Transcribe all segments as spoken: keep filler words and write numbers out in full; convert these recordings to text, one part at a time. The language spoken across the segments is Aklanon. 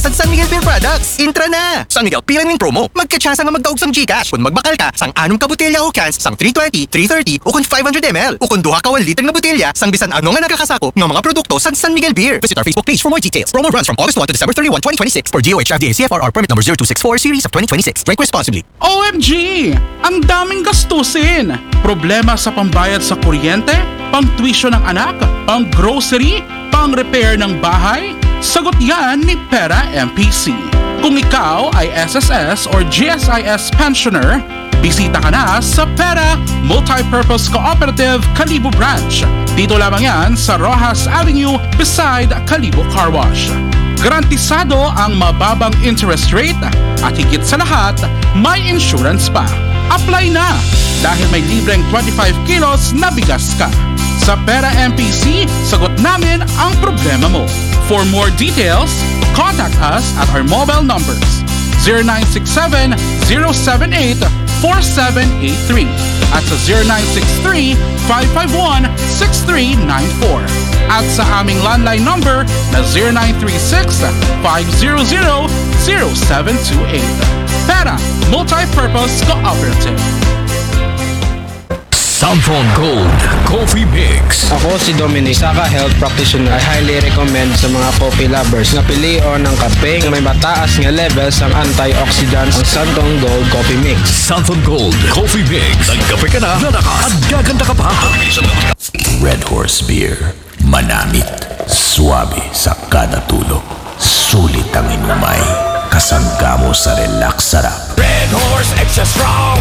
San San Miguel Beer Products. Intra na! San Miguel P L N Win Promo. Magkatsansa nga magdaog sang GCash kun magbakal ka sang anom ka botelya o cans sang three twenty, three thirty, o kun five hundred M L, o kun duha ka one liter nga botelya sang bisan ano nga nagakasakop nga mga produkto sang San Miguel Beer. Visit our Facebook page for more details. Promo runs from August one to December thirty-one, twenty twenty-six, for D O H F D A C F R R permit number zero two six four series of twenty twenty-six. Drink responsibly. O M G! Ang daming gastusin! Problema sa pambayad sa kuryente, pang tuition ng anak, pang grocery, pang repair ng bahay? Sagot yan ni Pera M P C. Kung ikaw ay S S S or G S I S pensioner, bisita ka na sa Pera Multipurpose Cooperative Kalibo Branch. Dito lamang yan sa Rojas Avenue beside Kalibo Car Wash. Garantisado ang mababang interest rate at higit sa lahat, may insurance pa. Apply na! Dahil may libreng twenty-five kilos na bigas ka. Sa Pera M P C, sagot namin ang problema mo. For more details, contact us at our mobile numbers zero nine six seven, zero seven eight, four seven eight three at sa zero nine six three, five five one, six three nine four at sa aming landline number na zero nine three six, five zero zero, zero seven two eight. Pera Multipurpose Cooperative. Santon Gold Coffee Mix. Ako si Dominic, isa ka health practitioner. I highly recommend sa mga coffee lovers na pilion ng kape na may mataas nga levels ang antioxidants, ang Santon Gold Coffee Mix. Santon Gold Coffee Mix. Nagkape ka na, lalakas, at gaganda ka pa. Red Horse Beer. Manamit, suabe sa kada tulo. Sulit ang inumay. Kasangga mo sa relax sarap. Red Horse Extra Strong,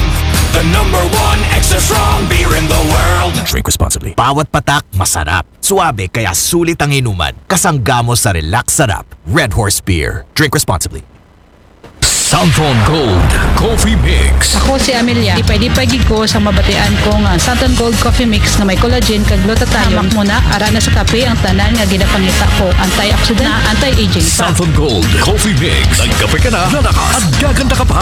the number one extra strong beer in the world. Drink responsibly. Bawat patak masarap, suabe kaya sulit ang inuman. Kasangga mo sa relax sarap. Red Horse Beer. Drink responsibly. Santon Gold Coffee Mix. Ako si Amelia. Lipay-lipay gid ko sa mabatian ko nga Santon Gold Coffee Mix nga may collagen kag glutathione. Hamak mo na, ara na sa kape ang tanan nga ginapangita ko. Antioxidant na anti-aging pa. Santon Gold Coffee Mix. Nagkape ka na, lalakas, at gaganda ka pa.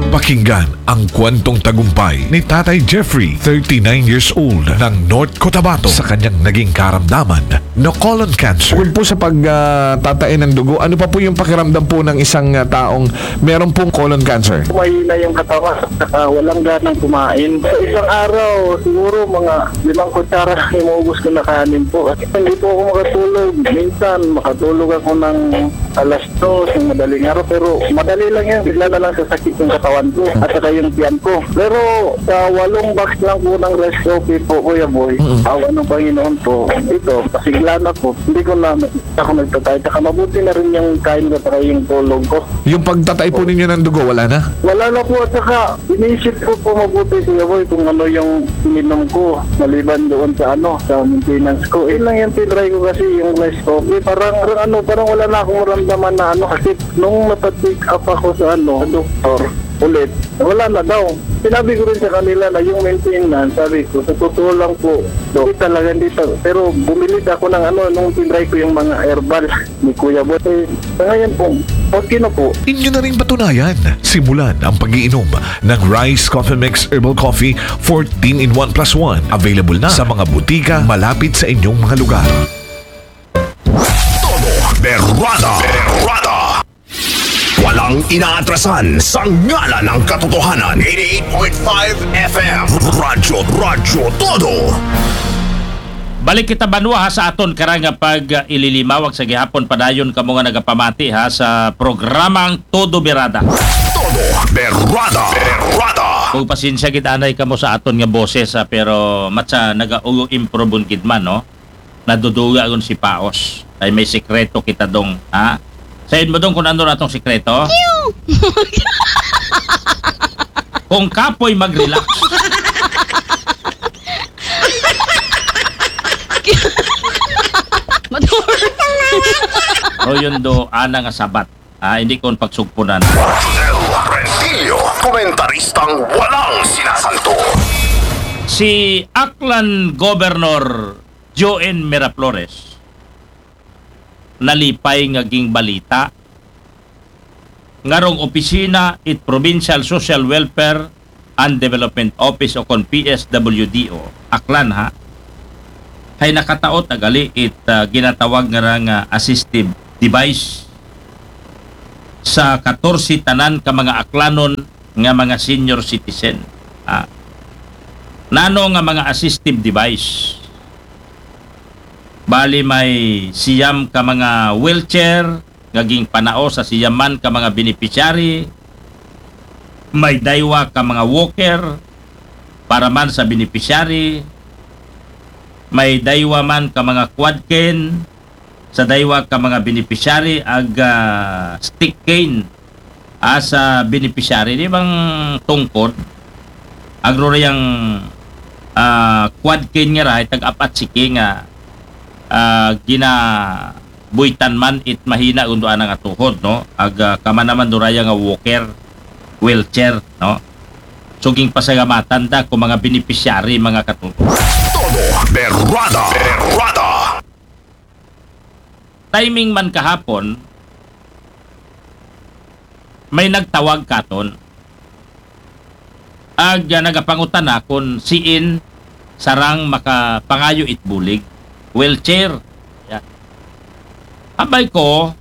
Pakinggan ang kwentong tagumpay ni Tatay Jeffrey, thirty-nine years old, ng North Cotabato, sa kanyang naging karamdaman na colon cancer. Bukod po sa pagtatain ng dugo, ano pa po yung pakiramdam po ng isang ah, taong meron pong colon cancer? Mahina yung katawan, saka walang ganang kumain. Sa isang araw, siguro mga limang kutsara lang inuubos ko na kanin po. Hindi po ako makatulog. Minsan, makatulog ako ng alas dos ng madaling araw, pero madali lang yan. Bigla na lang sasakit yung katawan ko at saka yung tiyan ko. Pero sa walong box lang po ng rice coffee po, Kuya Boy, awa ng Panginoon po, ito, pasigla na po. Hindi ko na ako nagtatay. Saka mabuti na rin yung kain ko saka yung tulog ko. Yung pagtatay po ninyo ng dugo, wala na? Wala na po at saka inisip ko po mabuti, Kuya Boy, kung ano yung ininom ko maliban doon sa ano, sa maintenance ko. Yun lang yung tinry ko kasi yung rice coffee. Parang, parang ano, parang wala na akong maramdaman na ano kasi nung napa-check up ako sa ano, sa doktor ulit, wala na daw. Sinabi ko rin sa kanila na yung maintenance, sabi ko, sa totoo lang po, hindi talaga, hindi talaga. Pero bumili ako ng ano, nung tinry ko yung mga herbal ni Kuya Boy. Eh, sa ngayon po, okay na po. Inyo na rin patunayan. Simulan ang pag-iinom ng Rice Coffee Mix Herbal Coffee fourteen in one plus one. Available na sa mga butika malapit sa inyong mga lugar. Todo Berrada. Berrada. Walang inaatrasan sa ngalan ng katotohanan. Eighty-eight point five F M. Radyo, Radyo Todo. Balik kita banwa ha sa aton karang nga pag uh, ililimawag sa gihapon padayon kamo nga nagapamati ha sa programang Todo Berada. Todo Berrada. Berrada. Kung pasensya gid anay kamo sa aton nga boses ha, pero matsa naga-improve gid man, no? Naduduga gun si Paos. Ay may sikreto kita dong, ha? Sayon mo dong kung ano na tong sikreto? Kung kapoy mag-relax. Matur. Royundo, ana nga sabat. Ah, hindi ko pagsugpunan. Rosel Rentillo, komentaristang walang sinasanto. Si Aklan Governor Joen Miraflores nalipay nga gingbalita nga rong opisina it Provincial Social Welfare and Development Office o kon P S W D O, Aklan ha, hay nakataot agali it ah, ginatawag ngara nga assistive device sa katorse tanan ka mga aklanon nga mga senior citizen. Ah, nano nga mga assistive device? Bali may siyam ka mga wheelchair nga ginpanao sa siyam man ka mga beneficiary, may daywa ka mga walker para man sa beneficiary, may daywa man ka mga quad cane sa daywa ka mga beneficiary, ag ah, stick cane ah, sa beneficiary, di bang tungkod, agro rayang ah, quad cane nga rahay tag-apat siki nga ah, ginabuitan man it mahina gundoan nga tuhod, no? Ag ah, kama naman do raya nga walker, wheelchair, no? So ginpasalamatan da ko mga beneficiary, mga katuto. Todo berrada, berrada. Timing man kahapon, may nagtawag katon. Ag ah, nagapangutan na kung siin sarang makapangayo it bulig. Wheelchair. Yeah. Abay ko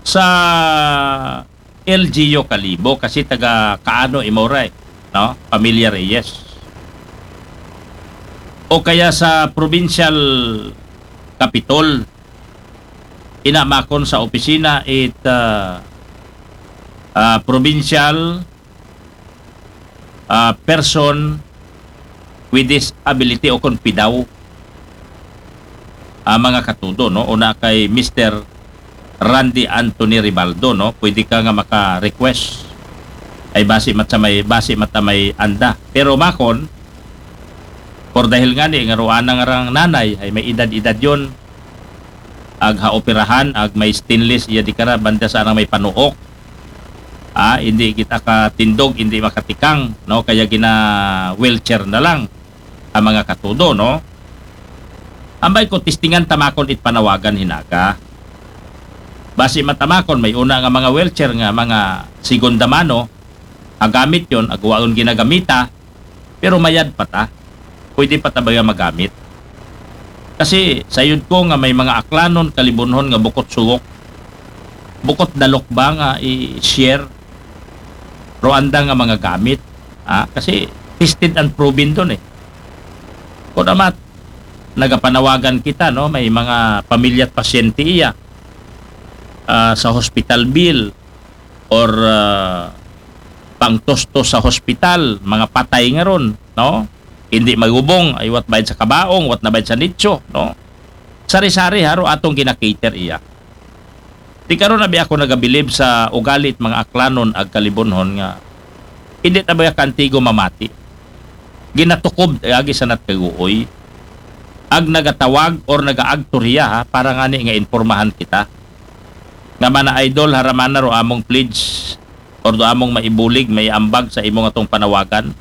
sa L G U Kalibo kasi taga Kaano Imoray, no? Pamilya Reyes. O kaya sa provincial capitol, ina makon sa opisina it ah, ah, provincial ah, person with disability o kon pidaw, ah, mga katudo, no? Una kay Mister Randy Anthony Ribaldo, no? Pwede ka nga maka-request ay basi mat sa may, basi mat sa may anda. Pero makon, por dahil nga ni nga ruana nga rang nanay ay may edad-edad yon, ag ha operahan, ag may stainless iya di kara banda sa may panuok. Ah, hindi kita katindog, hindi makatikang, no? Kaya gina wheelchair na lang ang mga katudo, no? Ambay ko, testingan tamakon it panawagan hinaga. Basi matamakon, may una nga mga wheelchair nga mga segunda mano, agamit yon, agwaon ginagamita, pero mayad pa ta. Pwede pa ta ba nga magamit? Kasi sayod ko nga may mga aklanon, kalibunhon nga bukot suwok, bukot dalok ba nga i-share ro anda nga mga gamit. Ah, kasi tested and proven don eh. Kung amat, nagapanawagan kita, no? May mga pamilya at pasyente iya ah, sa hospital bill or ah, pangtustos sa hospital, mga patay nga ron, no? Hindi magubong, ay wat bayad sa kabaong, wat na bayad sa nitso, no? Sari-sari haro atong ginakater iya. Di karon na bi ako nagabilib sa ugalit mga aklanon ag kalibunhon nga hindi ta ba kantigo mamati. Ginatukob agi sa natkaguoy. Ag nagatawag or nagaagtor hiya ha, para ngani nga impormahan kita. Nga mana idol, haramana ro among pledge or do among maibulig, maiambag sa imong atong panawagan.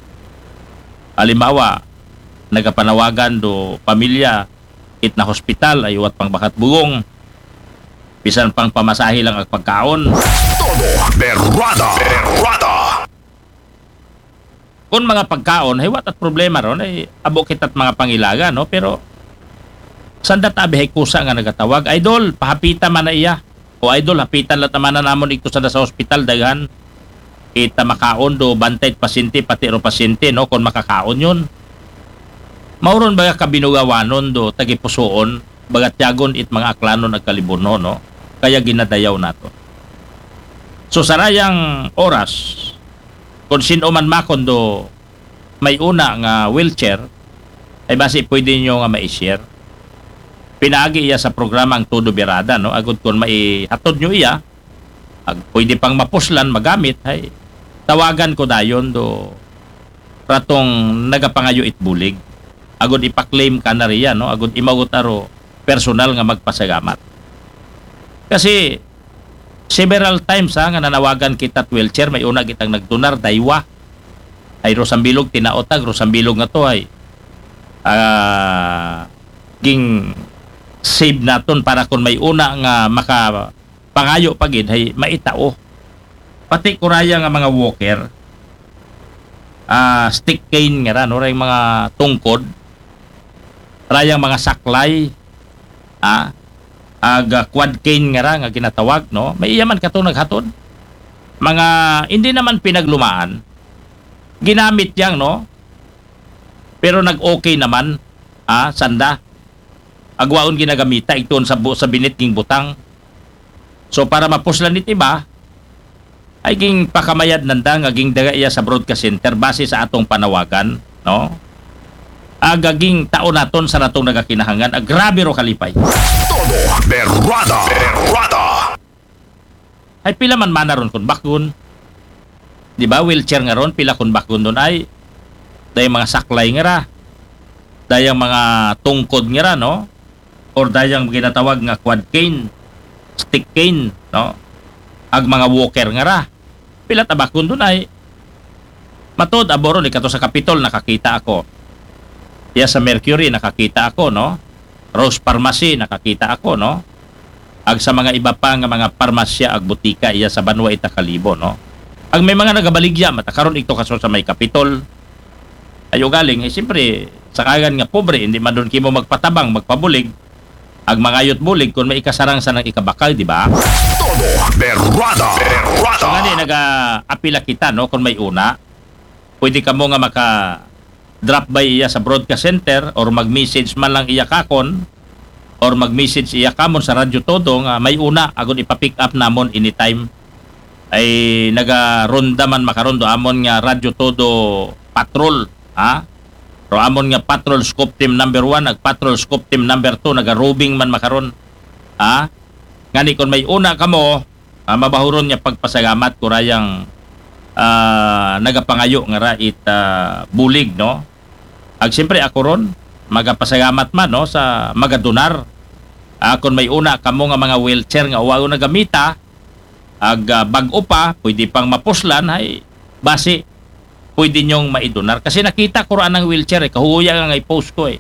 Halimbawa, nagapanawagan do pamilya, it na hospital, ay uwat pang bakat bugong. Bisan pang pamasahe lang ag pagkaon. Todo berrada, berrada. Kung mga pagkaon, hay wat at problema ron, ay abo kita't mga pangilaga, no? Pero sanda ta abi hay kusa nga nagatawag, idol, pahapita man na iya. O idol, hapitan la ta man na namon ito sa sa hospital, daghan. Ita makaon do bantay pasyente, pati ro pasyente, no? Kung makakaon yun. Mauron ba kabinugawanon do tagipusoon, bagat yagon it mga aklanon ag kalibunhon, no? Kaya ginadayaw nato. So, sarayang oras, kung sino man makon do may una nga wheelchair, ay basi pwede nyo nga ma-share. Pinaagi iya sa programa ang Todo Birada, no? Agud kung maihatod nyo iya, ag, pwede pang mapuslan, magamit, hay tawagan ko dayon do ratong nagapangayo it bulig. Agud ipa-claim ka na riya, no? Agud imagot aro personal nga magpasagamat. Kasi several times ha, nga nanawagan kita at wheelchair, may una kitang nagdunar, daywa. Ay Rosambilog, tinaotag, Rosambilog nga to ay ah, ging save naton para kung may una nga maka pangayo pa gid hay maitao. Pati kuraya nga mga walker, ah, stick cane nga ra, no, ray mga tungkod, rayang mga saklay, ah, ag, ah, quad cane nga ra nga ginatawag, no? May iya man katong naghatod. Mga hindi naman pinaglumaan, ginamit yang, no? Pero nag-okay naman, ah, sanda. Agwaon ginagamita igtuon sa bu-, sa binit ging butang. So, para mapuslan it iba, ay ging pakamayad nanda nga ging daga iya sa broadcast center base sa atong panawagan, no? Aga ging tao naton sa natong nagakinahangan, ag grabe ro kalipay. Todo berrada, berrada. Ay pila man mana ron kun bakgon. Di ba, wheelchair nga ron, pila kun bakgon don ay, dayang mga saklay nga ra, dayang mga tungkod nga ra, no? Or dayang ginatawag nga quad cane, stick cane, no? Ag mga walker nga ra. Pila ta bakgon don ay. Matod, abo ron, ikato sa Capitol, nakakita ako. Iya sa Mercury, nakakita ako, no? Rose Pharmacy, nakakita ako, no? Ag sa mga iba pa nga mga parmasya ag butika iya sa banwa ita Kalibo, no? Ag may mga nagabaligya, mata karon igto kaso sa may Capitol. Ayo galing, eh, siyempre, sa kagan nga pobre, hindi man don kimo magpatabang, magpabulig, ag mangayot bulig, kung may ikasarang sa nang ikabakal, di ba? Todo berrada, berrada. So, ngani, naga-apila kita, no? Kung may una, pwede kamo nga maka-drop by iya sa broadcast center or mag-message man lang iya kakon or mag-message iya kamon sa Radyo Todo nga may una agud ipa-pick up namon anytime. Ay nagaronda man makaron do amon nga Radyo Todo patrol, ha? Ro amon nga patrol scoop team number one, ag patrol scoop team number two, nagarobing man makaron, ha? Ngani kon may una kamo, ah, mabahuron nga pagpasalamat ko rayang, ah, nagapangayo nga ra it, ah, bulig, no? Ag siyempre ako ron, magapasalamat man, no, sa magadonar. Ah, kon may una kamo nga mga wheelchair nga uwaw nagamita, ag, ah, bag-o pa, pwede pang mapuslan, ay basi pwede nyong maidonar. Kasi nakita ko ra anang wheelchair, eh, kahuya nga i-post ko, eh.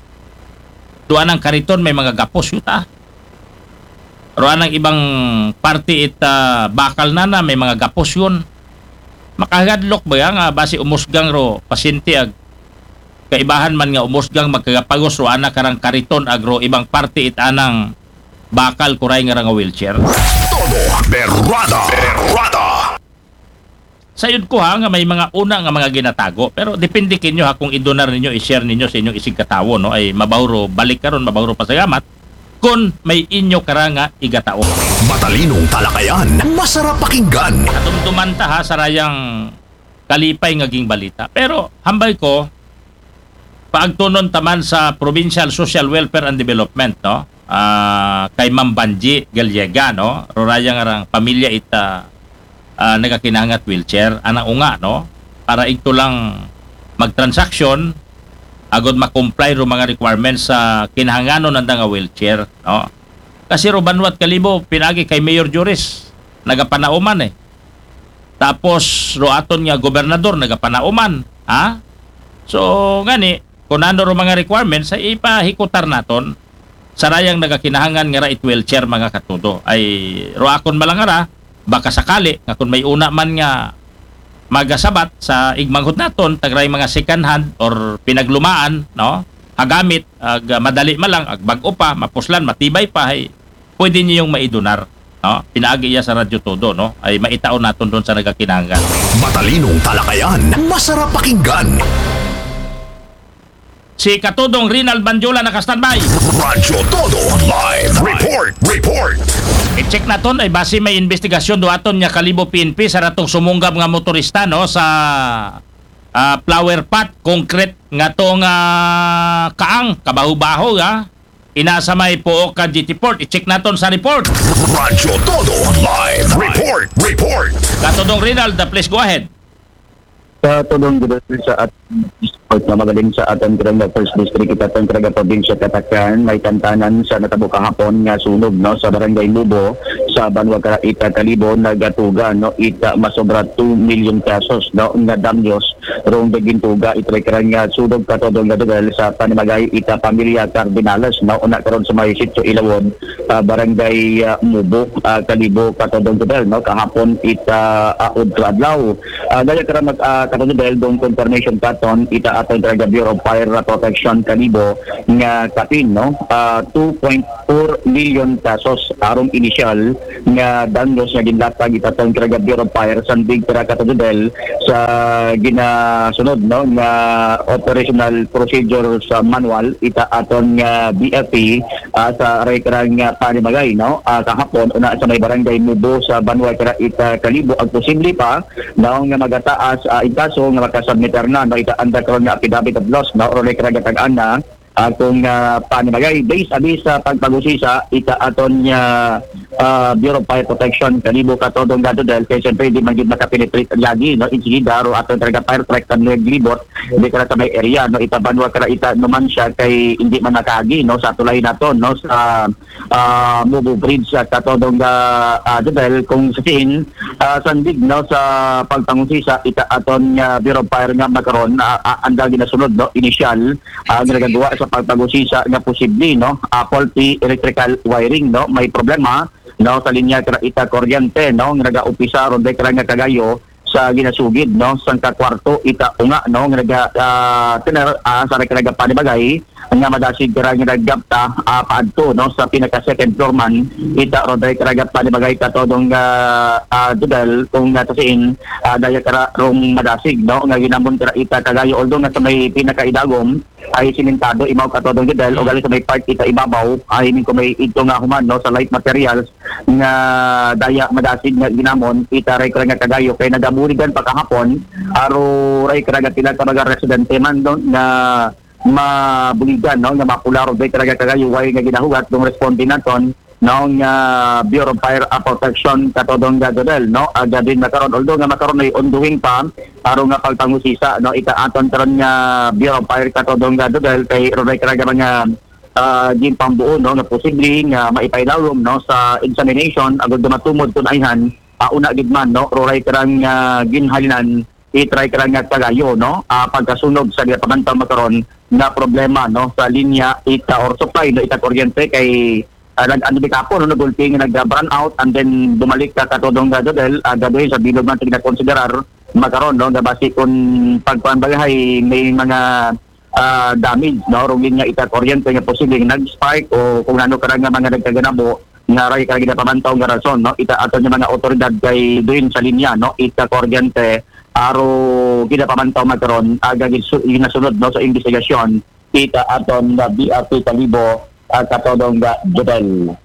Doon ang kariton, may mga gapos yuta. Ro anang ibang parte it, ah, bakal na na, may mga gapos yun. Makagadlok ba nga basi umusgang ro pasyente ag kaibahan man nga umusgang magkagapagos ro ana karang kariton ag ro ibang parte it anang bakal kuray nga ra nga wheelchair. Todo berrada, berrada. Sayod ko ha nga may mga una nga mga ginatago, pero depende kinyo ha kung idonar ninyo, i-share ninyo sa inyong isigkatawo, no? Ay mabahuro balik karon, mabahuro pasalamat kun may inyo kara nga igatao. Matalinong talakayan, masarap pakinggan. Katumtuman ta ha sa rayang kalipay nga ging balita. Pero hambal ko, paagtunon taman sa Provincial Social Welfare and Development, no? Ah, kay Ma'am Banji Gallega, no? Ruraya nga rang pamilya ita, ah, nagakinangat wheelchair, anang unga, no? Para igto lang magtransaksyon, agod makomply ro mga requirements sa kinahanganon nanda nga wheelchair, no? Kasi ro banwat Kalibo, pinagi kay Mayor Juris, nagapanauman eh. Tapos ro aton nga gobernador nagapanauman, ha? So ngani, kung ano ro mga requirements ay ipahikutar naton sa rayang nagakinahangan nga ra it wheelchair, mga katudo. Ay ro akon malangara, baka sakali nga kung may una man nga magasabat sa igmanghod naton, tagray mga second hand or pinaglumaan, no? Hagamit, ag madali malang, ag bag-o pa, mapuslan, matibay pa, ay pwede niyong maidonar, no? Pinaagi iya sa Radyo Todo, no? Ay maitaon naton doon sa nagakinahanglan. Matalinong talakayan, masarap pakinggan. Si Katudong Rinald Bandyola naka-standby. Radyo Todo live report, report. I-check naton ay base may investigasyon do aton nga Kalibo P N P sa ratong sumunggab nga motorista, no, sa, ah, flower pot, concrete nga tong, ah, kaang, kabaho-baho, ha? Ina sa may Pooka Jetty Port. I-check naton sa report. Radyo Todo live report, report. Katudong Rinald, please go ahead. Katudong gid sa at-, report na magaling sa aton karang first district, it aton karang probinsya Catacan, may tantanan sa natabo kahapon nga sunog, no, sa Barangay Lubo, sa banwa ka ita Kalibo, nagatugan, no, ita masobra two million pesos, no, nga damyos rong dagintuga iti karang nga sudog kato dong nga Jodel sa panimagay ita pamilya Cardinales, no, una karon sa may Sitio Ilawon, ah, Barangay, ah, Mubo, ah, Kalibo kato dong Jodel, no, kahapon ita, ah, udto adlaw. Ah, daya kara mag, ah, kato Jodel dong confirmation katon ita aton karang Bureau of Fire Protection Kalibo nga kapin, no, ah, two point four million pesos arong initial nga danyos nga ginlatag ita aton karang Bureau of Fire sandig kara kato Jodel sa ginasunod, no, nga operational procedures manual ita aton nga B F P, ah, sa raykrang nga panimagay, no, ah, kahapon una sa may Barangay Mubo sa Banwa kara ita Kalibo ang posible pa, no, nga magataas, ah, in kaso nga makasubmit na, no, ita anda karon nga affidavit of loss, no, o raykrang gatag-an na, ah, kung, ah, panimagay. Based abi sa pagpagusisa ita aton nga, ah, Bureau of Fire Protection Kalibo kato dong nga Jodel, kay siyempre di man gid makapenetrate lagi, no, insigida ro aton karang fire truck kan naglibot di kara sa may area, no, ita Banwa kara ita Numancia kay hindi man nakaagi, no, sa tulay naton, no, sa, ah, Mubo Bridge, ah, kato dong nga, ah, Jodel, kung sa siin, ah, sandig, no, sa pagpangusisa ita aton nga Bureau of Fire nga makaron, ah, ah, anda ginasunod, no, initial, ah, nga nagagawa sa pagpangusisa nga posible, no, ah, faulty electrical wiring, no, may problema, no, sa linya kara ita kuryente, no, nga nagaupisa ron kara nga Cagayo sa ginasugid, no, sangka kwarto ita unga, no, nga naga, ah, tener, ah, sa kara panimagay nga madasig kara nga naggapta, ah, paadto, no, sa pinaka second floor man ita ron kara panimagay kato dong, ah, ah, Jodel, kung, ah, sa siin, ah, daya kara rong madasig, no, nga ginamon kara ita Cagayo, although nga sa may pinakaidagom ay simentado imaw kato dong Jodel, o gali sa may part ita ibabaw, ay min ko may idto nga human, no, sa light materials nga daya madasig nga ginamon ita raykrang nga Cagayo kay nagabuligan pa kahapon, aro raykrang nga pila ka mga residente man, no, nga mabuligan, no, nga mapula ron raykrang nga Cagayo, way nga ginahugat dong responde naton, no, nga Bureau of Fire, ah, Protection kato dong nga Jodel, no, ah, gabin makaron, although nga makaron ay ongoing pa aro nga pagpangusisa, no, ita aton karon nga Bureau of Fire kato dong nga Jodel kay ron raykrang nga mga, ah, ginpambuo, no, nga posible nga maipailawom, no, sa examination agud nga matumod kun ayhan, ah, una gid man, no, ron raykrang nga ginhalinan ita raykrang nga Cagayo, no, ah, pagkasunog sa ginapamantaw makaron nga problema, no, sa linya ita or supply, no, ita kuryente kay, ah, nag-, ano di kapo, no, nagulpi nga nag-brownout and then bumalik ka kato dong nga Jodel, ah, gaduhin sa bilog man ito ginakonsiderar makaron, no, nga basi kung pagkuan bagahay may mga, ah, damage, no, rong linya ita kuryente nga posibleng nag-spark o kung ano kara nga mga nagkaganabo nga raykrang ginapamantaw nga rason, no, ita aton nga mga otoridad kay duin sa linya, no, ita kuryente, aro ginapamantaw makaron, aga ginsu-, ginasunod, no, sa investigasyon ita aton nga B R T Kalibo, ah, kato dong nga Jodel.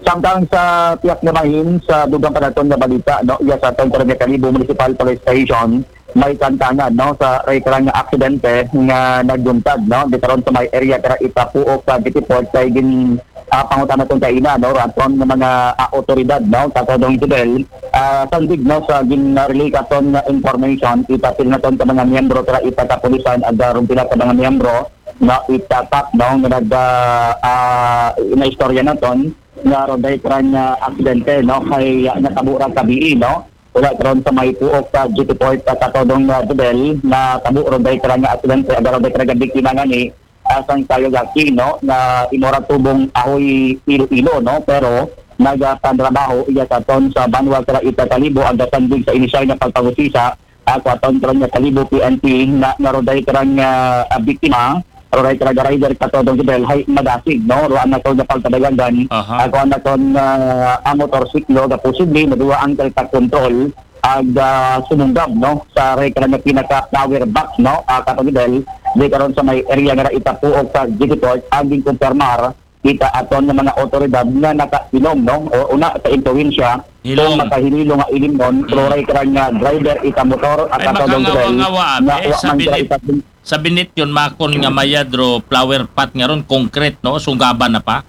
Samtang sa pihak nga bahin, sa dugang pa naton nga balita, no, iya sa aton karon nga Kalibo Municipal Police Station, may kantangan, no, sa raykrang nga aksidente nga nagbuntag, no, di karon sa may area kara ita puok sa Jetty Port kay gin, ah, pangutan naton kaina, no, raton nga mga, ah, otoridad, no, kato dong Jodel, ah, sandig, no, sa gin-relay katon nga information, ita pila naton ka mga miyembro kara ita kapulisan, aga ron pila ka mga miyembro, no, ita kap, no, nga nag, ah, ah, naistorya naton nga ron raykrang nga aksidente, no, kay, ah, natabo ra kabii, no, wala karon sa may puok sa Jetty Port, ah, kato dong, ah, Jodel, natabo ron raykrang nga aksidente, aga ron raykrang nga biktima ngani, ah, sang Kayogaki, no, nga imo ra tubong Ajuy, Iloilo, no, pero nagapanrabaho iya sa aton sa Banwa kara ita Kalibo, aga sandig sa inisyal nga pagpangusisa, ah, kato dong karon nga Kalibo P N P nga, nga ron raykrang, ah, ah, biktima, ron raykrang nga rider kato dong Jodel, hay madasig, no, ron raykrang nga pagpadayagan, Aha. ah, kato dong, ah, ang motorsiklo nga posible maduwa ang kaltak control, ag, ah, sumunggab, no, sa raykrang nga pinaka power box, no, ah, kato dong Jodel, di karon sa may area nga ita puok sa Jetty Port, ang ginkumpirmar ita aton nga mga otoridad nga nakailom, no, o una sa impluwensya, Ilom. Kung makahinilo nga ilimnon, Mm. ron raykrang nga driver ita motor, at Ay, kato dong Jodel, makangawa-ngawa, nga eh, wa sa man kara binit-, ita sa binit yun, makon nga mayad ro flower pot nga ron, concrete, no, sunggaban na pa.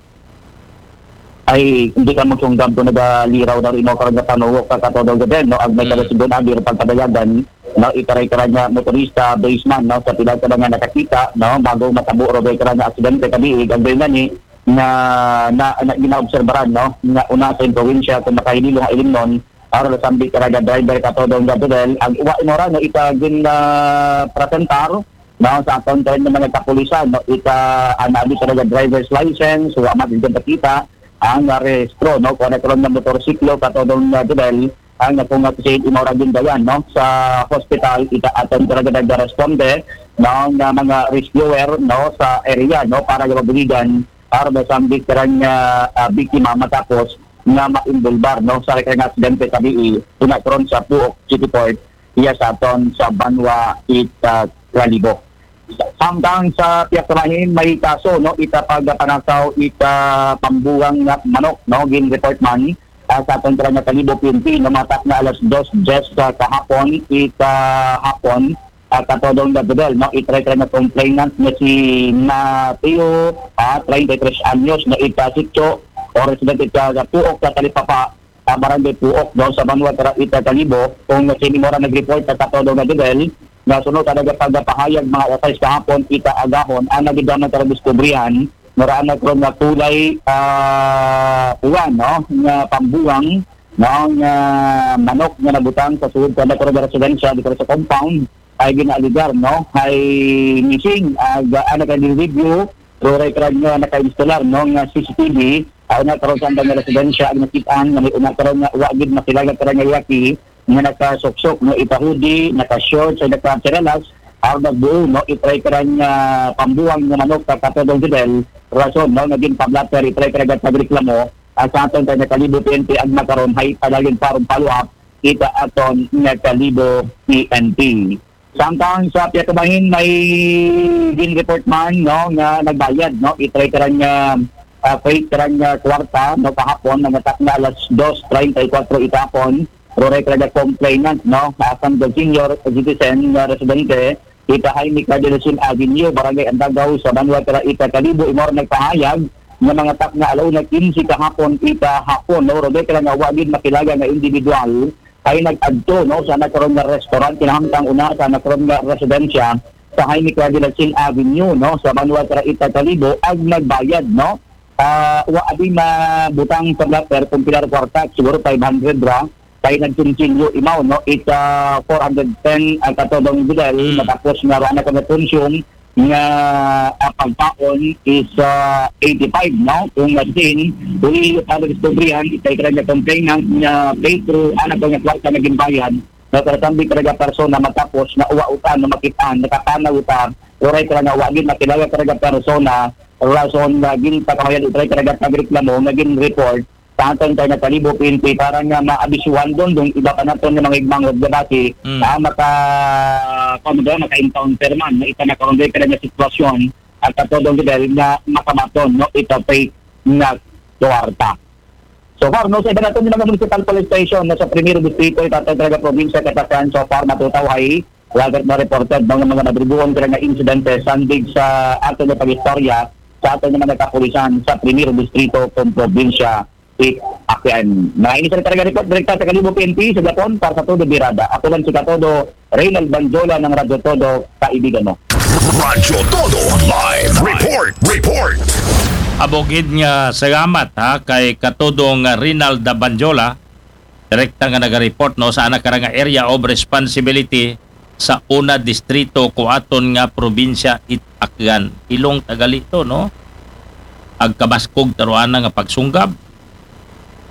Ay, hindi ka magsunggab kung nagaliraw na rin mo karon nga panuwok ka kato dong Jodel, no, ag may Mm. kalusugan abi ro pagpadayagan, no, ita raykrang nga motorista, baseman, no, sa pila ka mga nakakita, no, bago matabo ron raykrang nga aksidente kabiig, ang gani, nga na, na ginaobserbaran, no, nga una sa impluwensya kung makahinilo nga ilimnon, Aron sambit karaga driver katodong nga Dodel, ang wa imora no ita gin ah, presentar no sa aton kay mga kapulisan no ita ang abi karaga driver's license, wa man din kita ang ah, rehistro no kung ano karon nga motorsiklo katodong nga Dodel ang kung nga kasi imora gin dayan no sa hospital ita aton karaga nagresponde no nga mga rescuer no sa area no para nga mabuligan para masambit karang ah, ah, biktima matapos nga maimbulbar no sa karang aksidente sa bii una karon sa Puok City Port iya sa aton sa Banwa it ah, Kalibo. Samtang sa pihak sa bahin may kaso no ita pagpanakaw ita pambuwang nga manok no gin report man ah, sa aton karang Kalibo P N P no matak na alas dos diyes sa kahapon ita hapon ah, katodong nga Dodel, no? Itry-try nga complainant nga si Mateo, ah, treinta y tres anyos, no? Ita sitio o residente sa, sa Puok sa Talipapa, sa Barangay Puok, no? Sa Banwa Tara ita Kalibo, kung si Mimora nag-report sa katodong nga Dodel, nga sunod sa nagapagpahayag mga alas sais kahapon, ita agahon, ang nagidaman sa diskubrihan, mura na karon nga kulay ah, uwan, no? Nga pambuwang, no? Nga manok nga nabutang sa sulod sa Nagkaroon Residensya dito sa compound ay ginaaligar no ay missing ag ana ka review ruray karag nga naka-instalar no nga C C T V ay una karon sa andang nga residensya ang nakit-an nga may una karon nga wa gid makilala karag nga lalaki nga nakasuksok no itahudi, naka-shorts ay naka-chinelas ang nagbuo no itry karag nga pambuwang nga manok sa Katodong Fidel rason no naging pablatter itry karag pagreklamo at sa aton kay Nakalibo P N P ang makaron hay padayon parong follow-up kita aton Nakalibo P N P. Samtang sa piyakabahin may gin-report man no nga nagbayad no itry karang uh, uh, freight karang uh, kwarta no kahapon nangatak na alas dos treinta y cuatro itapon pero record complainant no asang senior citizen nga residente ita Jaime Cadelasin Avenue, Barangay Andagaw sa Banwa Tara ita Kalibo imor nagpahayag nga mga tak na alaw na kinsi kahapon ita hapon no Rebecca nga wagid makilaga nga individual ay nag-adto no sa nakaron nga restaurant kinahangtang una sa nakaron nga residensya sa Jaime Clavilasin Avenue no sa Banwa Tara ita Kalibo ag nagbayad no uh, wa abi mabutang sa blatter kung pilar kwarta siguro five hundred ra kay nagkunsilyo imaw no ita four hundred ten ang katodong bidal mm. Matapos nga wala na kami consume nga uh, pagpaon is uh, eighty-five no kung nga sin uli para diskubrihan itay kaya nga complainant nga playthrough anak ko nga kwarta na gimbayad na karatambik talaga persona matapos na uwa utan na makitaan nakatanaw uta uray talaga wagin makilala talaga persona rason nga gin pagkamayan utray talaga pagreklamo nga gin report sa aton kay Nakalibo P N P para nga maabisuhan don dong iba pa naton nga mga igmangod nga bati mm. Na maka kung ba maka-encounter man na ita nakaunday ka na sitwasyon at katodong level na makabaton no ita fake na kwarta. So far, no, sa iba natin yung mga municipal police station na sa Primero Distrito, itatag talaga probinsya katasan so far matutaw ay Lagat na reported ng mga nadrubuhon ka nga insidente sandig sa ato nga pag-istorya sa ato nga mga kapulisan sa Primero Distrito kung probinsya it Aklan. Na ini sa talaga report direkta sa Kalibo P N P sa Japon para sa Todo Birada. Ako lang si Katodo, Reynald Banjola ng Radyo Todo, kaibigan mo. Radyo Todo Live Report. Report. Abogid nga salamat ha kay Katodong Rinalda Banjola direkta nga nagareport no sa anak karang area of responsibility sa una distrito kuaton nga probinsya it Aklan. Ilong tagali to no. Agkabaskog taruana nga pagsunggab.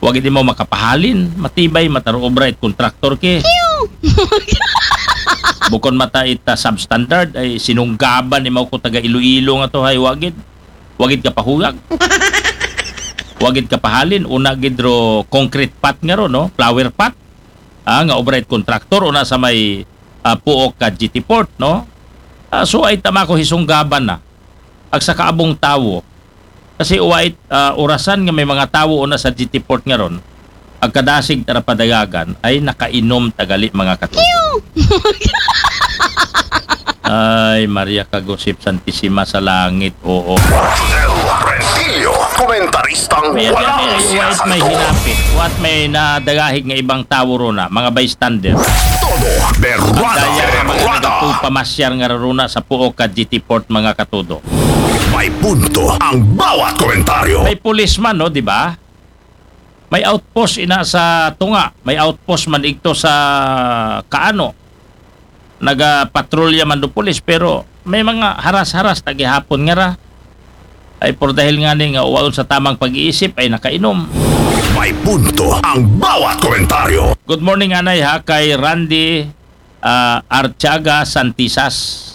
Wa gid mo makapahalin, matibay mataro obra it kontraktor ki. Bukon mata ita substandard ay sinunggaban ni ko taga Iloilo nga to hay wagid. Wagid ka pahuyag. Wagid ka pahalin, una gid ro concrete pot nga ro, no? Flower pot. Ah, nga obra it kontraktor una sa may ah, Puok ka G T Port, no? Ah, so ay tama ko hisunggaban na. Ag sa kaabong tawo. Kasi uwait uh, orasan nga may mga tawo una sa G T Port nga ron, agkadasig tara padayagan ay nakainom tagali mga katuto. Ay, Maria Kagusip Santisima sa langit, oo. Rodel Rentillo, komentaristang walang siyasal. What may hinapit, what may nadagahig nga ibang tawo runa, mga bystander. Todo berrada, berrada. Pamasyar nga runa sa Puok ka G T Port, mga katuto. May punto ang bawat komentaryo. May pulis man, no, di ba? May outpost ina sa tunga, may outpost man igto sa kaano. Nagapatrolya man do pulis, pero may mga haras-haras ta gihapon nga ra. Ay, por dahil nga ni nga uwaon sa tamang pag-iisip ay nakainom. May punto ang bawat komentaryo. Good morning, anay, ha, kay Randy, ah, Artiaga Santisas,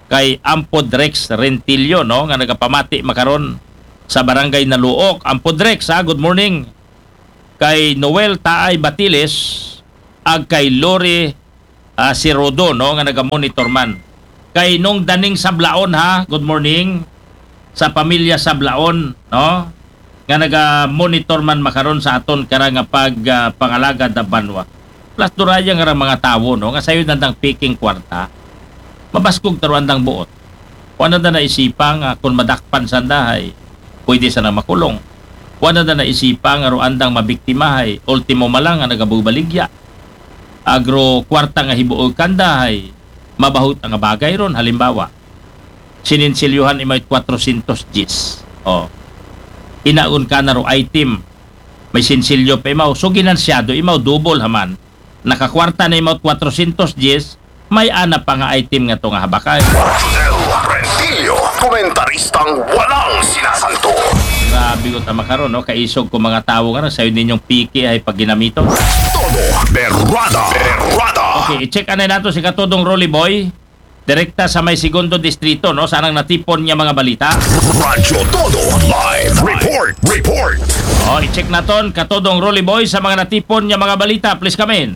kay Ampod Rex Rentillo, no, nga nagapamati makaron sa Barangay Naluok. Ampod Rex, ha, good morning. Kay Noel Taay Batiles, ag kay Lori, ah, si Rodo, no, nga naga-monitor man. Kay Nong Daning Sablaon, ha, good morning sa pamilya Sablaon, no, nga naga-monitor man makaron sa aton kara nga pag, ah, pangalagad na banwa. Plus, duraya nga ra mga tawo, no, nga sayo nandang piking kwarta. Mabaskog ta ro andang buot. Wa nanda naisipa nga kung madakpan sanda, hay pwede sana makulong. Wa nanda naisipa nga ro andang mabiktima, hay ultimo malang nga nagabubaligya. Agro kwarta nga hibuoy kanda, hay mabahut nga bagay ron. Halimbawa, sininsilyohan imaw kwatrosyentos diyes. Oh. Inaon ka na ro item. May sinsilyo pa imaw. So, ginansyado imaw, double haman. Nakakwarta na imaw kwatrosyentos diyes, may ana pa nga item nga to nga habakay. Rodel Rentillo, komentaristang walang sinasanto. Grabe ko tama karon, no? Kaisog ko mga tawo nga sayo ninyong piki ay pagginamito. Todo berrada, berrada. Okay, i-check anay nato si Katodong Rolly Boy. Direkta sa may segundo distrito, no? Sa anang natipon niya mga balita. Radyo Todo Live Report, Report. Oh, i-check naton, Katodong Rolly Boy, sa mga natipon niya mga balita. Please come in.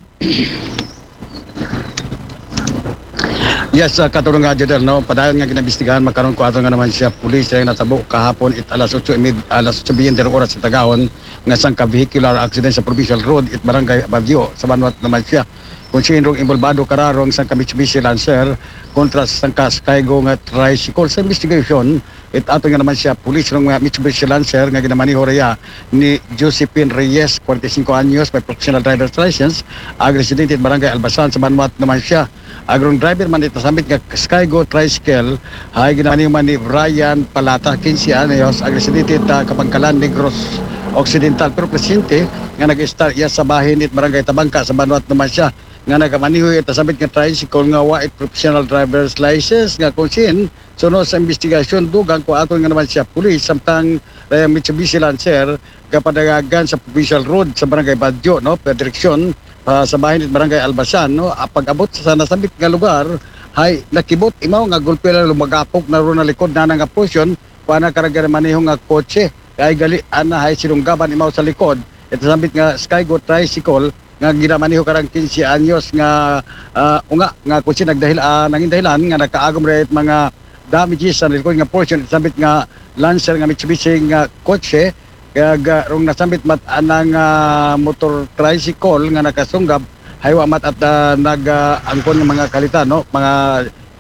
Yes, uh, Katodong nga, Jodel, no? Padayon nga ginabistigahan, makaron ko ato nga naman siya, pulis, ay natabo kahapon, it alas otso y media, alas otso veinte oras sa Tagahon, nga sangka vehicular accident sa Provincial Road, it Barangay Baguio, sa Banwat naman siya. Kung sinong involbado kararong sangka Mitsubishi Lancer kontra sa sangka Skygo nga tricycle. Sa investigation, it ato nga naman siya, pulis rong nga Mitsubishi Lancer nga ginamaniho raya ni Josephine Reyes, forty-five anyos, may professional driver's license, ag residente it Barangay Albasan sa Banwat naman siya. Agrong driver man it nasambit nga Skygo tricycle, ay ginamaniho man ni Brian Palata, quince anyos, ag residente it, ah, Kapangkalan, Negros Occidental, pero presente nga nag-start iya sa bahin it Barangay Tabangka sa Banwat naman siya. Nga nagamaniho it nasambit nga tricycle nga wa it professional driver's license, nga kung sin, suno sa investigasyon, dugang ko aton nga naman siya pulis, samtang, eh, Mitsubishi Lancer, gapadagagan sa Provincial Road sa Barangay Badyo, no, pa direksyon, ah, sa bahin it Barangay Albasan, no. Ah, pag-abot sa nasambit nga lugar, hay nakibot imaw nga gulpi lang lumagapok na ro na likod na nga portion, kuha na karang ginamaniho nga kotse, kay gali ana hay sinunggaban imaw sa likod it nasambit nga Skygo tricycle nga ginamaniho karang quince anyos nga, ah, unga nga kung sin nagdahil, ah, nangin dahilan nga nakaagom ra it mga damages sa likod nga portion it nasambit nga Lancer nga Mitsubishi nga kotse, kag, ah, rong nasambit man anang, ah, motor tricycle nga nakasunggab, hay wa man at, ah, nag, ah, angkon nga mga kalitan, no? Mga,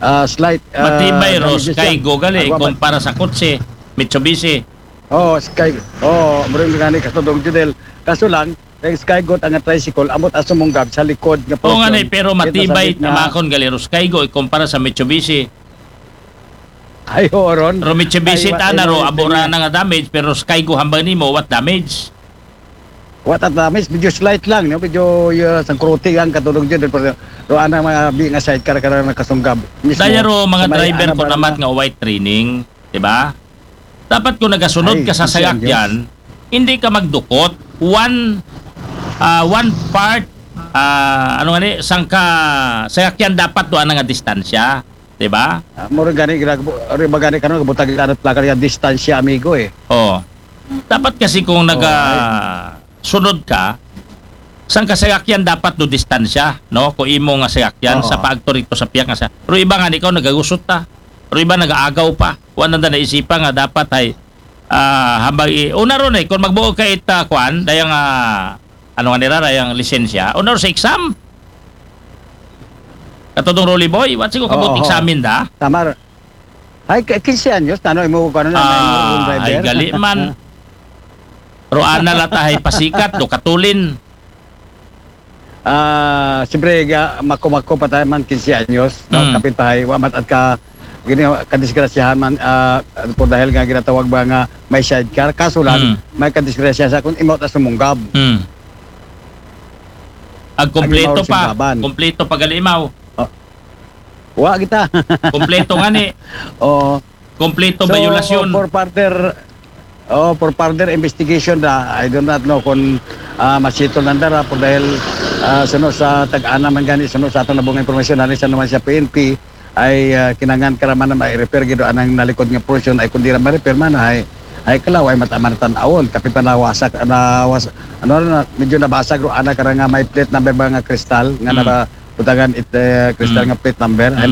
ah, slight, ah, matibay ro damages lang. Skygo gali, ay, wa man kumpara sa kotse, Mitsubishi. Oo, Sky-, oo, murag gani, Katodong Jodel. Kaso lang, ang Skygo at ang tricycle, ambot aso mong gab sa likod nga portion. Oo nga ni, pero matibay, it nasambit nga tamakon gali ro Skygo, ikumpara sa Mitsubishi. Ay, oo, ron. Ro Mitsubishi, ay, wa-, tana ay, ro, wa-, abora na nga damage, pero Skygo hambal nimo, what damage? What at damage? Medyo slight lang, no? Medyo, uh, sangkruti ang, Katodong Jodel, pero ro ana mga bi nga sidecar ka na nakasunggab. Mismo. Daya ro, mga sa may driver ana ko ba naman nga white training, di ba? Dapat kung nagasunod ka sa sasakyan, hindi ka magdukot. One, ah, one part, ah, ano nga ni, sangka sasakyan dapat do ana nga distansya, di ba? Ah, mura gani, ginag-, uri ba gani karon, gabutag ito, ano, plaka niya, distansya, amigo, eh. Oh. Dapat kasi kung naga-, sunod ka, sangka sasakyan dapat do distansya, no? Kung imo nga sasakyan, sa paagto rito sa piyak nga sa-, pero iba nga, ikaw nagagusot ta. Pero iba nagaagaw pa. Wa nanda naisipa nga dapat ay, ah, hambal i-, una ron eh, kung magbuo ka it, ah, kwan, dayang, ah, ano nga nira, dayang lisensya, una ron sa exam. Katodong Rolly Boy, what siguro kabot examin da? Tama. Ay, k-, quince anyos, tano, imo ko ano na, may imo driver. Ay, gali man. Ro ana lata, hay pasikat, do katulin. Ah, siyempre, ga-, mako-mako pa tayo man, quince anyos, no? Mm. Kapin pa, hay, wa mat at ka, gini, kadisgrasyahan man, ah, por dahil nga ginatawag ba nga may sidecar, kaso lang, Mm. may kadisgrasya sa kung imaw ta sumunggab. Hmm. Ag kompleto Ag imaw pa. sunggaban. Kompleto pag-alimaw. Wa kita. Kompleto nga ni. Oo. Kompleto So, violasyon. for further, oh, for further investigation da, I do not know kung ah, masitol nanda ra, por dahil ah, suno sa tag-ana man gani, suno sa aton nabungay impormasyon, ani sa naman sa P N P, ay ah, kinangan ka ra man na ma-repair gid anang nalikod nga portion, ay kung di ra ma-repair man, ay, ay kalaw, ay mataman tan-awon, kapi pa nawasak, nawas, ano na, medyo nabasag ro ana kara nga may plate number ba nga kristal, nga Mm. naba, butangan it, eh, kristal Mm. nga plate number, ay